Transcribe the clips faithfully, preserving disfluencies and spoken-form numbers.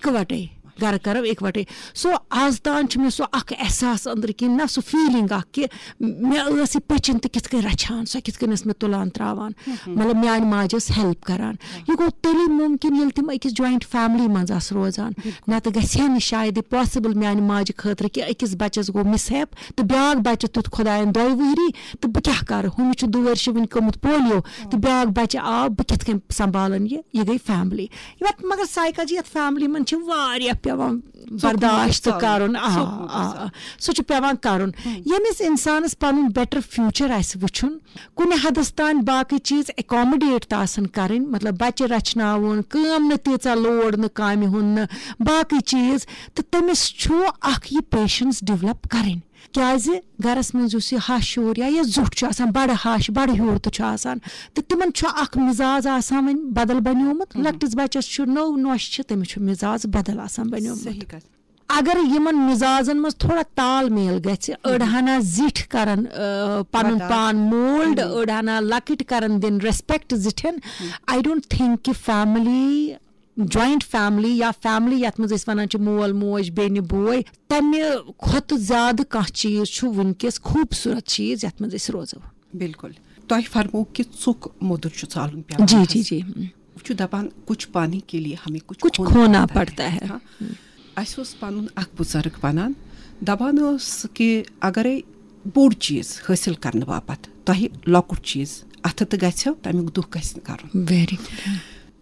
اِکوَٹَے، گَرٕ کَرو اِکوَٹَے۔ سو آز تام چھُ مےٚ سُہ اَکھ احساس أنٛدرٕ کِنۍ، نہ سُہ feeling اَکھ کہِ مےٚ ٲس یہِ پٔچِن تہٕ کِتھ کٔنۍ رَچھان، سۄ کِتھ کٔنۍ ٲس مےٚ تُلان ترٛاوان۔ مطلب میٛانہِ ماجہِ ٲس help کَران۔ یہِ گوٚو تیٚلی مُمکِن ییٚلہِ تِم أکِس joint family منٛز آسہٕ روزان۔ نَتہٕ گژھِ ہے نہٕ شاید یہِ possible میٛانہِ ماجہِ خٲطرٕ کہِ أکِس بَچَس گوٚو mishap تہٕ بیٛاکھ بَچہٕ تیُتھ خۄدایَن دۄیہِ وٕہٕرۍ تہٕ بہٕ کیٛاہ کَرٕ؟ ہُمِس چھُ دُ ؤرشہِ وٕنہِ گوٚمُت polio تہٕ بیٛاکھ بَچہٕ آو، بہٕ کِتھ کٔنۍ سنٛبھالَن یہِ؟ یہِ گٔے family۔ یَتھ مگر سایکالجی یَتھ family منٛز چھِ واریاہ پٮ۪وان برداشت کَرُن۔ آ، آ، آ۔ سُہ چھُ پٮ۪وان کَرُن۔ ییٚمِس اِنسانَس پَنُن better future آسہِ وٕچھُن، کُنہِ حدس تام باقٕے چیٖز accommodate تہِ آسان کرٕنۍ، مطلب بچہِ رچھناوُن، کٲم نہٕ تیٖژاہ load نہٕ کامہِ ہُنٛد نہٕ، باقٕے چیٖز، تہٕ تٔمِس چھُ اکھ یہِ patience develop کرٕنۍ۔ کیازِ گرس منٛز یُس یہِ ہش ہیوٗر یا یہِ زیُٹھ چھُ آسان، بڑٕ ہش بڑٕ ہیوٗر تہِ چھُ آسان، تہٕ تِمن چھُ اکھ مزاج آسان وۄنۍ بدل بنیومُت۔ لۄکٹِس بچس چھُ نٔو نوش چھِ، تٔمِس چھُ مزاج بدل آسان بنیومُت۔ اگر یِمن مزازن منٛز تھوڑا تال میل گژھِ، أڑ ہنا زِٹھۍ کرن، آ، پنُن پان mould، أڑ ہنا لۄکٕٹۍ کرن دِن respect زِٹھٮ۪ن۔ I don't think کہِ family، joint family یا family یتھ منٛز أسۍ ونان چھِ مول موج، بیٚنہِ بوے، تمہِ کھۄتہٕ زیادٕ کانٛہہ چیٖز چھُ وٕنکیٚس خوٗبصوٗرت چیٖز یتھ منٛز أسۍ روزو۔ بالکل۔ تۄہہِ فرموو کہِ ژوٚک موٚدُر چھُ ژالُن پٮ۪وان جی، چھس۔ جی، جی۔ وۄنۍ چھُ دپان، کچھ پانی کے لیے ہمیں کچھ کچھ کھونا کھونا پڑتا ہے۔ ہاں۔ اسہِ اوس پنُن اکھ بُزرگ ونان، دپان اوس کہِ اگرے بوٚڑ چیٖز حٲصِل کرنہٕ باپتھ تۄہہِ لۄکُٹ چیٖز اتھٕ تہٕ گژھیو، تمیُک دُکھ گژھِ نہٕ کرُن۔ Very good۔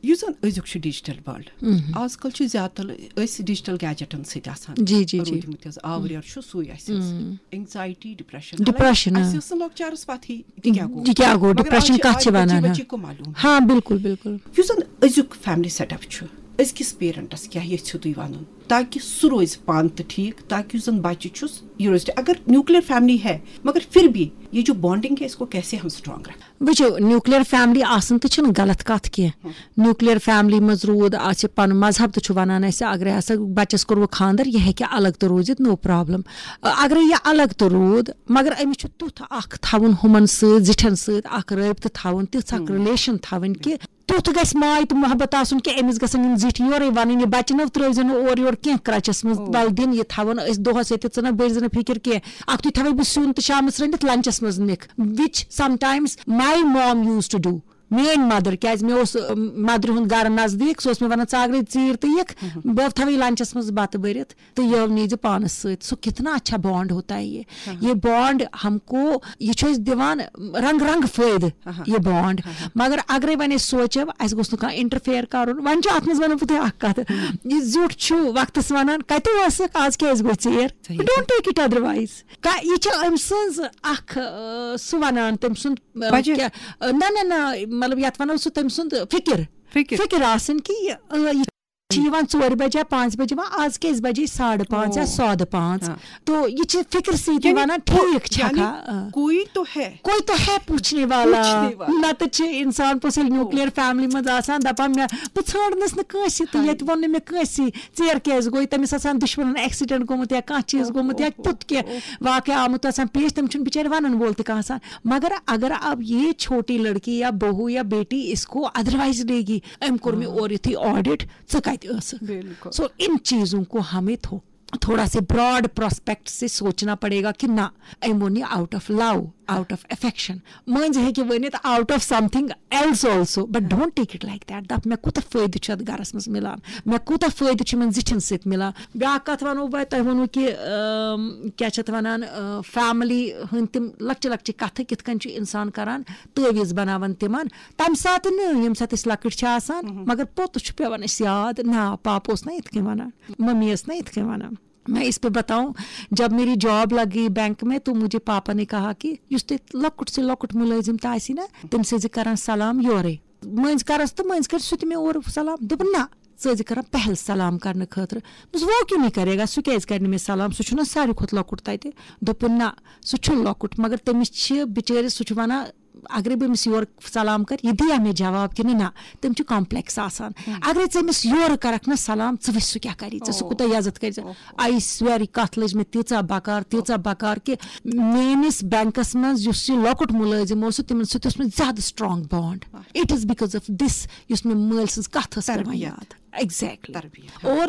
یُس زن أزیُک چھُ digital world، آز کل چھِ زیادٕ تر أسۍ digital gadgetن سۭتۍ آسان جی، جی، جی۔ روٗدمٕتۍ حظ، آوریر چھُ سُے اسہِ حظ۔ Anxiety، depression۔ Depression، حالانکہ اسہِ ٲس نہٕ لۄکچارس پتہٕے تہِ کیٛاہ گوٚو۔ یہِ کیٛاہ گوٚو، مگر آز depression چھِ، کتھ آز چھِ بچی ونان، بچی ہاں۔ کو معلوم۔ ہاں، بالکل، بالکل۔ یُس زن أزیُک family setup چھُ، أزکِس parentس کیٛاہ یژھِو تُہۍ ونُن، تاکہِ سُہ روزِ پانہٕ تہِ ٹھیٖک، تاکہِ یُس زن بچہِ چھُس، یہِ روزِ ٹھیٖک۔ اگر nuclear family ہے، مگر پھر بھی یہ جو bonding ہے، اس کو کیسے ہم strong رکھیں؟ وٕچھِو، nuclear family آسُن تہِ چھُنہٕ غلط کتھ کینٛہہ۔ Nuclear family منٛز روٗد، آسہِ پنُن مذہب تہِ چھُ ونان اسہِ، اگرے ہسا بچس کوٚروٕ خانٛدر، یہِ ہیٚکہِ الگ تہِ روٗزِتھ، no problem۔ اگرے یہِ الگ تہِ روٗد، مگر أمِس چھُ تیُتھ اکھ تھاوُن ہُمن سۭتۍ، زِٹھٮ۪ن سۭتۍ اکھ رٲبطہٕ تھاوُن، تِژھ اکھ relation تھاوٕنۍ کہِ تیُتھ گژھِ ماے تہٕ محبت آسُن کہِ أمِس گژھن یِم زِٹھۍ یورے وَنٕنۍ، یہِ بَچہٕ نو ترٛٲوزِ نہٕ اورٕ یورٕ کینٛہہ crutchس منٛز، او۔ وَلہٕ دِن یہِ تھاوَن أسۍ دۄہَس ییٚتٮ۪تھ، ژٕ نہ بٔرۍ زِ نہٕ فِکِر کینٛہہ، اَکھتُے تھاوَے بہٕ سیُن تہٕ شامَس رٔنِتھ lunchس منٛز نِکھ، which sometimes my mom used to do۔ میٲنۍ mother، کیازِ مےٚ اوس، اَم، motherِ ہُنٛد گرٕ نزدیٖک، سُہ اوس مےٚ وَنان، "ژٕ اگرے ژیٖرۍ تہٕ یِکھ، بہٕ تھاوَے lunchس منٛز بَتہٕ بٔرِتھ تہٕ یہِ نیٖزِ پانَس سۭتۍ۔" سُہ کِتنا اچھا bond ہوتا ہے یہ۔ یہ bond ہم کو، یہ چھُ اَسہِ دِوان رنگ رنگ فٲیدٕ، یہ bond۔ مگر اگرے وۄنۍ أسۍ سونٛچو، اَسہِ گوٚژھ نہٕ کانٛہہ interfere کرُن۔ وۄنۍ چھُ اَتھ منٛز وَنو بہٕ تۄہہِ اکھ کَتھ، یہِ زیُٹھ چھُ وقتس وَنان، "کَتہِ ٲسٕکھ، آز کیازِ گوٚو ژیر؟" صحیح۔ Don't take it otherwise۔ کا-، یہِ چھِ أمۍ سٕنٛز اکھ، آ، سُہ وَنان، تٔمۍ سُنٛد، آ، وجہ۔ کیٛاہ، آ، نہ، نہ، نہ، مطلب، یَتھ وَنو سُہ تٔمۍ سُنٛد فِکِر۔ فِکِر۔ فِکِر آسٕنۍ کہِ یہِ، آ، یہِ چھِ یِوان ژورِ بجہِ یا پانٛژِ بجہِ، یِوان آز کیٛازِ بجے ساڑٕ پانٛژھ یا او۔ سادٕ پانٛژھ۔ ہاں۔ تو یہِ چھِ فِکرِ سۭتۍ یعنی وَنان، کو-، ٹھیٖک چھَکھا؟ یعنی آ۔ کوئی تو ہے۔ کوئی تو ہے پوچھنے والا۔ پوچھنے والا۔ نَتہٕ چھِ اِنسان پوٚز ییٚلہِ او۔ Nuclear family منٛز آسان، دَپان، مےٚ، بہٕ ژھانٛڈنَس نہٕ کٲنٛسہِ تہٕ ہاے۔ ییٚتہِ ووٚن نہٕ مےٚ کٲنٛسہِ، ژیر کیٛازِ گوٚو؟ تٔمِس آسان دُشمَنَن accident گوٚمُت یا کانٛہہ چیٖز او، گوٚمُت او، یا او، تیُتھ کینٛہہ او۔ واقعہ آمُت آسان پیش، تٔمِس چھُنہٕ بِچارِ وَنَن وول تہِ کانٛہہ آسان۔ مگر اگر اب یہ چھوٹی لڑکی یا بہو یا بیٹی اس کو otherwise لے گی، أمۍ کوٚر مےٚ ہاں۔ اورٕ یُتھُے audit، ژٕ کتہِ ٲسٕکھ؟ بالکل۔ So ان چیزوں کو ہمیں تھو-، تھوڑا سے broad prospect سے سوچنا پڑے گا کہ نہ، أمۍ ووٚن یہِ out of love، out of affection۔ مٔنٛزۍ ہیٚکہِ ؤنِتھ out of something else also, but don't take it like that۔ دَپ مےٚ کوٗتاہ فٲیدٕ چھُ اَتھ گَرَس منٛز مِلان، مےٚ کوٗتاہ فٲیدٕ چھُ یِمَن زِٹھٮ۪ن سۭتۍ مِلان۔ بیٛاکھ کَتھ وَنو بہٕ تۄہہِ، ووٚنوُ کہِ، ٲم، کیٛاہ چھِ اَتھ وَنان، ٲ، family ہٕنٛدۍ تِم لۄکچہِ لۄکچہِ کَتھٕ کِتھ کٔنۍ چھُ اِنسان کَران، تعویٖذ بَناوان تِمَن، تَمہِ ساتہٕ نہٕ، ییٚمہِ ساتہٕ أسۍ لۄکٕٹۍ چھِ آسان، مگر پوٚتُس چھُ پٮ۪وان اَسہِ یاد، نہ، پاپہٕ اوس نہ یِتھ کٔنۍ وَنان، مٔمی ٲس نہ یِتھ کٔنۍ وَنان۔ میں اس پہ بتاؤں، جب میری job لگ گئی بینک میں، تو مجھے پاپا نے کہا کہ یُس تہِ لۄکُٹ سے لۄکُٹ مُلٲزِم تہِ آسی نا، تٔمِس ٲسۍ زِ کران سلام یورے۔ مٔنٛزۍ کرس تہٕ مٔنٛزۍ کرِ سُہ تہِ مےٚ اورٕ سلام۔ دوٚپُن، نہ، ژٕ ٲسۍ زِ کران پہل سلام کرنہٕ خٲطرٕ۔ دوٚپمَس، وہ کیوں نہیں کرے گا؟ سُہ کیٛازِ کرِ نہٕ مےٚ سلام؟ سُہ چھُنہ ساروی کھۄتہٕ لۄکُٹ تَتہِ۔ دوٚپُن، نہ، سُہ چھُنہٕ لۄکُٹ، مگر تٔمِس چھِ بِچٲرِس، سُہ چھُ وَنان، اگرے بہٕ أمِس یورٕ سلام کرٕ، یہِ دِیا مےٚ جواب کِنہٕ نہ؟ تٔمۍ چھُ complex آسان۔ اگرے ژٕ أمِس یورٕ کرکھ نہ سلام، ژٕ وٕچھ سُہ کیٛاہ کرِ ژےٚ، سُہ کوٗتاہ عزت کرِ ژےٚ۔ I swear، یہِ کتھ لٔج مےٚ تیٖژاہ بکار، تیٖژاہ بکار کہِ میٲنِس بینکس منٛز یُس یہِ لۄکُٹ مُلٲزِم اوس، تِمن سۭتۍ اوس مےٚ زیادٕ strong bond۔ It is because of this، یُس مےٚ مٲلۍ سٕنٛز کتھ ٲس پٮ۪وان تربیت۔ یاد۔ Exactly۔ تربیت۔ اور